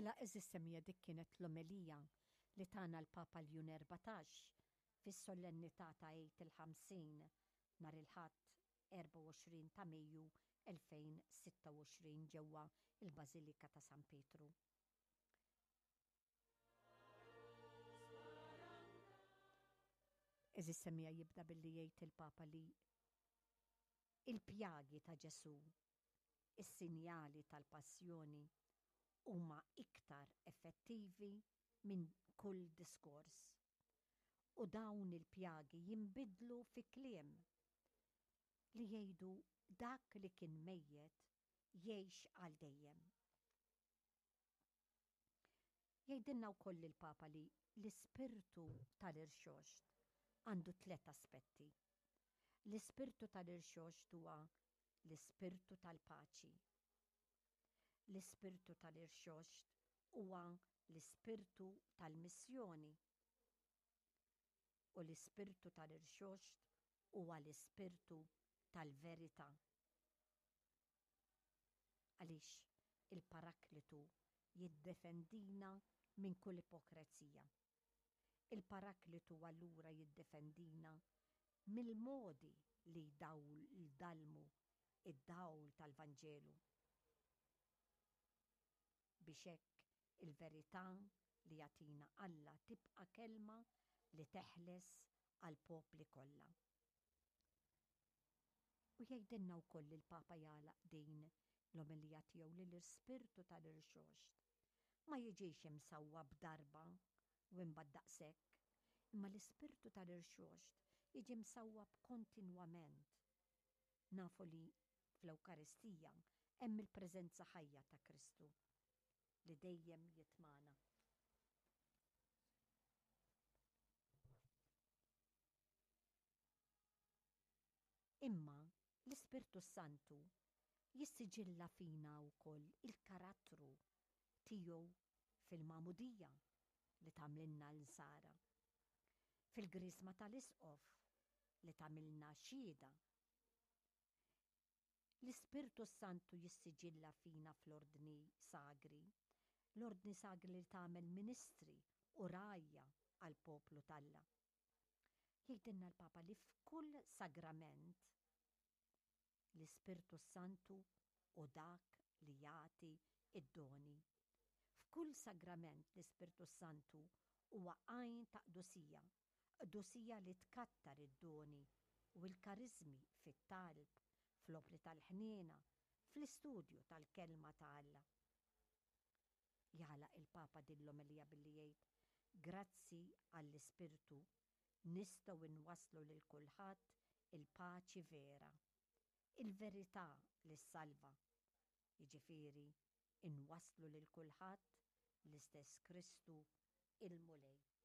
Mela għeżież semmiegħa dik kienet l-omelija li tana l-Papa Ljun 14 fis-sollennità ta' Għid il-50 nhar il-Ħadd 24 ta' Mejju 2026 ġewwa l-Bażilika ta' San Pietru. Għeżież semmiegħa jibda billi jgħid il-Papa li il-pjagi ta' Ġesù Is-sinjali tal-passjoni huma iktar effettivi minn kull diskors. U dawn il-pjagi jinbidlu fi kliem li jgħidu dak li kien mejjet jgħix għal dejjem. Jgħidilna wkoll il-Papa li l-ispirtu tal-irxoxt għandu tlett aspetti. L-ispirtu tal-irxoxt huwa l-ispirtu tal-paċi. L-ispirtu tal-irxoxt huwa l-ispirtu tal-missjoni. U l-ispirtu tal-irxoxt huwa l-ispirtu tal-verità. Għaliex il-Paraklitu jiddefendina minn kull ipokrezija. Il-Paraklitu allura jiddefendina mill-modi li jdallmu d-dawl tal-Vanġelu. Biex hekk il-verità li jagħtina Alla tibqa' kelma li teħles għall-popli kollha. U jgħidilna wkoll il-Papa jagħlaq din l-omelija tiegħu li l-Ispirtu tal-Irxoxt ma jiġix imsawwab darba u imbagħad daqshekk, imma l-Ispirtu tal-Irxoxt jiġi msawwab kontinwament. Nafu li fl-Ewkaristija hemm il-preżenza ħajja ta' Kristu li dejjem jitmagħna. Imma l-Ispirtu s-Santu jissiġilla fina wkoll il-karattru tiegħu fil-magħmudija li tagħmlilna Nsara, fil-griżma tal-Isqof li tagħmilna xhieda. L-Ispirtu s-Santu jissiġilla fina fl-ordni sagri, l-ordni sagri li tagħmel ministri u rgħajja għall-poplu t'Alla. Jgħidilna l-Papa li f'kull sagrament l-Ispirtu s-Santu hu dak li jagħti d-doni. F'kull sagrament l-Ispirtu s-Santu huwa għajn ta' qdusija, qdusija li tkattar id-doni u l-kariżmi fit-talb, fl-opri tal-ħniena, fl-istudju tal-Kelma ta' Alla. Jagħlaq il-Papa din l-omelija billi jgħid, Grazzi għall-Ispirtu nistgħu nwasslu lil kulħadd il-paċi vera, il-verità li ssalva, jiġifieri nwasslu lil kulħadd l-istess Kristu il-Mulej.